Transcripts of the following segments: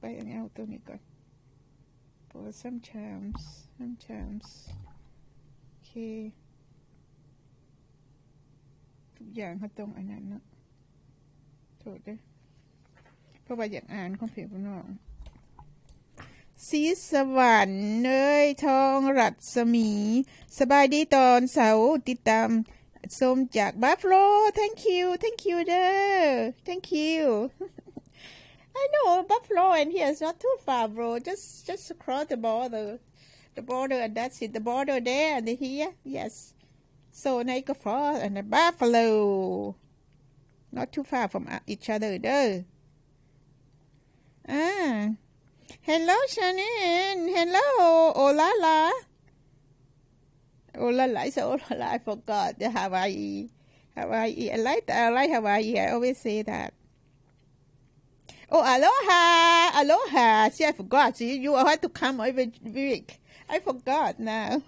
ໄປເອົາໂຕນີ້ກ່ອນ ເພາະວ່າ sometimes sometimes ໂອເຄ ທຸກຢ່າງເຮົາຕ້ອງອັນນັ້ນເນາະ ໂທດເດີ ເພາະວ່າຢາກອ່ານຄອມເພນພີ່ນ້ອງ ສີສະຫວັນ ເອີຍ ທອງລັດສະໝີ ສະບາຍດີຕອນເຊົ້າ ຕິດຕາມຊົມຈາກ Buffalo. Thank you, thank you ເດີ thank you. I know Buffalo and here is not too far, bro. Just, just across the border. The border and that's it. The border there and here. Yes. So Niagara Falls and the Buffalo. Not too far from, uh, each other ເດີ. ອ່າ Hello Shannon. Hello. Olala. Olala. It's Olala. I forgot the Hawaii. Hawaii. I like, I like Hawaii. I always say that. Oh, aloha. Aloha. See, I forgot. See, you have to come every week. I forgot now.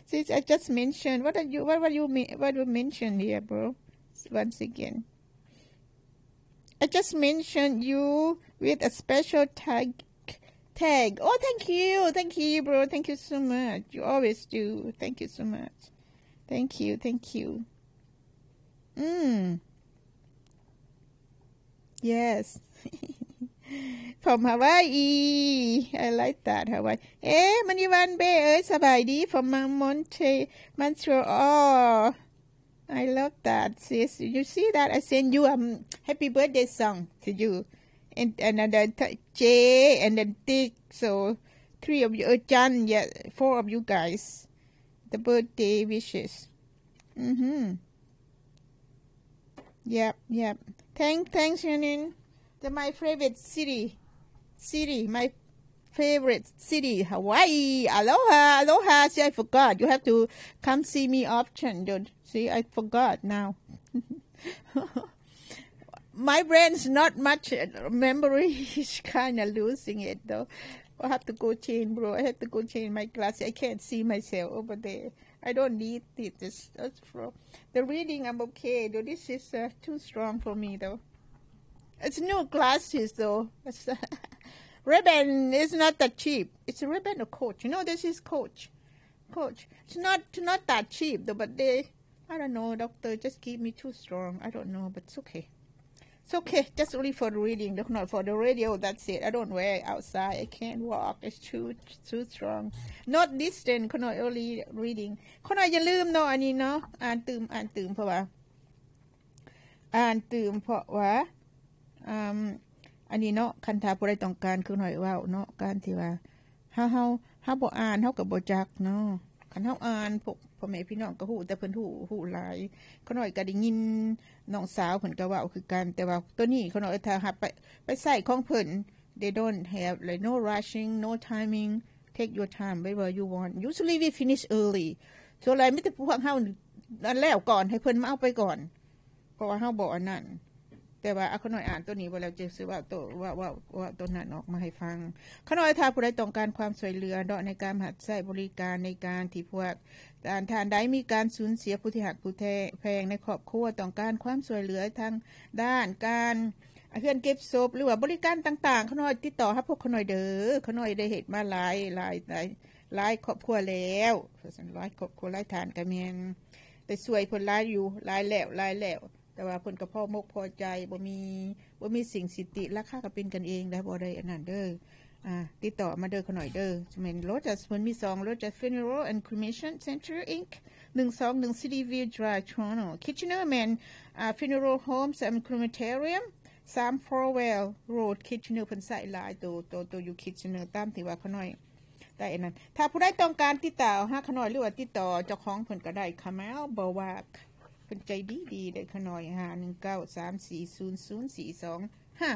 See, I just mentioned. What are you, what, what you mean, what you mentioned here, bro? Once again. I just mentioned you with a special tag, tag. Oh, thank you. Thank you, bro. Thank you so much. You always do. Thank you so much. Thank you. Thank you. Mm. Yes. From Hawaii. I like that, Hawaii. ເອ ມະນີວັນເບ ເອີຍ ສະບາຍດີ from Mon-, Monte, Montreal. I love that, sis. You see that? I send you a, um, happy birthday song to you. And, and then the t-, Jay and then Dick. So, three of you, uh, Jan, yeah, four of you guys. The birthday wishes. Mm-hmm. Yep, yep. Thank, thanks, Shannon. The, my favorite city. City, my favorite city, Hawaii. Aloha, aloha. See, I forgot. You have to come see me often, dude. See, I forgot now. My brain's not much, uh, memory is kinda losing it, though. I have to go change, bro. I have to go change my glasses. I can't see myself over there. I don't need it. It's, that's for the reading, I'm okay, though. This is, uh, too strong for me, though. It's new glasses, though. It's, Ray-Ban is not that cheap. It's Ray-Ban or Coach. You know, this is Coach. Coach. It's not, not that cheap, though, but they, I don't know, doctor just give me too strong. I don't know, but it's okay. It's okay. Just only for the reading, not for the radio. That's it. I don't wear it outside. I can't walk. It's too, too strong. Not distance. ຂ້ານ້ອຍ only reading. ຂ້ານ້ອຍຢ່າລືມເນາະ ອັນນີ້ເນາະ. ອ່ານຕື່ມ, ອ່ານຕື່ມ ເພາະວ່າ ອ່ານຕື່ມ ເພາະວ່າ ອ່າ ອັນນີ້ເນາະ, ຄັນຖ້າຜູ້ໃດຕ້ອງການ ຄືນ້ອຍເວົ້າເນາະ, ການທີ່ວ່າເຮົາ, ເຮົາ, ເຮົາບໍ່ອ່ານ ເຮົາກໍບໍ່ຈັກເນາະ. ຄັນເຮົາອ່ານ ພວກພໍ່ແມ່ພີ່ນ້ອງກໍຮູ້, ແຕ່ເພິ່ນຮູ້, ຮູ້ຫຼາຍ. ຂ້ານ້ອຍກໍໄດ້ຍິນນ້ອງສາວເພິ່ນກໍເວົ້າຄືກັນ, ແຕ່ວ່າໂຕນີ້ຂ້ານ້ອຍຖ້າຮັບໄປ, ໄປໃຊ້ຂອງເພິ່ນ they don't have, like, no rushing, no timing, take your time wherever you want. Usually we finish early. ສ່ວນຫຼາຍມີແຕ່ພວກເຮົານັ້ນແລ້ວກ່ອນ ໃຫ້ເພິ່ນມາເອົາໄປກ່ອນ ເພາະວ່າເຮົາບໍ່ອັນນັ້ນ. ແຕ່ວ່າ ອາ ຂ້ານ້ອຍອ່ານໂຕນີ້ບໍ່ແລ້ວ ຈະຊິເວົ້າໂຕ ເວົ້າ ເວົ້າ ເວົ້າໂຕນັ້ນອອກມາໃຫ້ຟັງ. ຂ້ານ້ອຍ ຖ້າຜູ້ໃດຕ້ອງການຄວາມຊ່ວຍເຫຼືອເນາະ ໃນການຮັບໃຊ້ບໍລິການ ໃນການທີ່ພວກທ່ານ, ທ່ານໃດມີການສູນເສຍຜູ້ທີ່ຮັກຜູ້ແທ-, ແພງໃນຄອບຄົວ, ຕ້ອງການຄວາມຊ່ວຍເຫຼືອທາງດ້ານການ ເຮືອນເກັບສົບ ຫຼືວ່າບໍລິການຕ່າງໆ, ຂ້ານ້ອຍຕິດຕໍ່ຫາພວກຂ້ານ້ອຍເດີ. ຂ້ານ້ອຍໄດ້ເຮັດມາຫຼາຍ, ຫຼາຍ, ຫຼາຍ, ຫຼາຍຄອບຄົວແລ້ວ, ວ່າຊັ້ນ, ຫຼາຍຄອບຄົວ, ຫຼາຍທ່ານກໍແມ່ນໄດ້ຊ່ວຍເພິ່ນຫຼາຍຢູ່, ຫຼາຍແລ້ວ, ຫຼາຍແລ້ວ. ແຕ່ວ່າເພິ່ນກໍພໍມົກພໍໃຈ, ບໍ່ມີ, ບໍ່ມີສິ່ງສິດຕິ, ລາຄາກໍເປັນກັນເອງໄດ໋, ບໍ່ໄດ້ອັນນັ້ນເດີ. ອ່າ ຕິດຕໍ່ມາເດີຂ້ານ້ອຍເດີ. ແມ່ນ Lotus ເພິ່ນມີສອງ Lotus Funeral and Cremation Center Inc ໜຶ່ງສອງໜຶ່ງ City View Drive Toronto. Kitchener ແມ່ນ ອ່າ Funeral Homes and Crematorium ສາມ Farwell Road Kitchener ເພິ່ນໃຊ້ຫຼາຍ ໂຕ ໂຕ ໂຕຢູ່ Kitchener ຕາມທີ່ວ່າຂ້ານ້ອຍໄດ້ອັນນັ້ນ. ຖ້າຜູ້ໃດຕ້ອງການຕິດຕໍ່ຫາຂ້ານ້ອຍ ຫຼືວ່າຕິດຕໍ່ເຈົ້າຂອງເພິ່ນກໍໄດ້ Kamal Bowak ເພິ່ນໃຈດີໆ ເດີຂ້ານ້ອຍ ຫ້າໜຶ່ງເກົ້າສາມສີ່ສູນສູນສີ່ສອງຫ້າ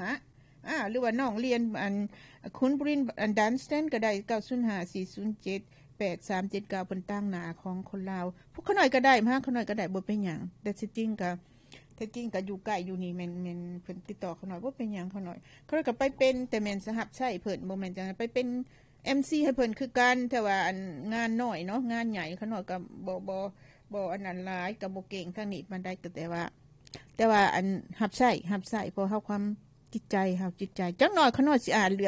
ອ່າ ຫຼືວ່ານ້ອງລຽນ ອັນ ຄຸນບຣິນ ອັນ ດັນສະຕັນ ກໍໄດ້ ເກົ້າສູນຫ້າສີ່ສູນເຈັດແປດສາມເຈັດເກົ້າ ເພິ່ນຕາງໜ້າຂອງຄົນລາວ. ພວກຂ້ານ້ອຍກໍໄດ້ ມາຫາຂ້ານ້ອຍກໍໄດ້ ບໍ່ເປັນຫຍັງ. ແຕ່ທີ່ຈິງກໍ ແທ້ຈິງກໍຢູ່ໃກ້ຢູ່ນີ້ ແມ່ນ ແມ່ນເພິ່ນຕິດຕໍ່ຂ້ານ້ອຍ ບໍ່ເປັນຫຍັງ. ຂ້ານ້ອຍ ຂ້ານ້ອຍກໍໄປເປັນ ແຕ່ແມ່ນສະຮັບໃຊ້ເພິ່ນ ບໍ່ແມ່ນຈັ່ງນັ້ນ ໄປເປັນ ເອັມຊີ ໃຫ້ເພິ່ນຄືກັນ, ແຕ່ວ່າອັນງານໜ້ອຍເນາະ, ງານໃຫຍ່ຂ້ານ້ອຍກໍບໍ່ ບໍ່ ບໍ່ອັນນັ້ນຫຼາຍ, ກໍບໍ່ເກັ່ງທາງນີ້ປານໃດ, ກໍແຕ່ວ່າ ແຕ່ວ່າອັນຮັບໃຊ້ ຮັບໃຊ້ ເພາະເຮົາຄວາມຈິດໃຈເຮົາ, ຈິດໃຈ ຈັກໜ້ອຍຂ້ານ້ອຍຊິອ່ານເລື່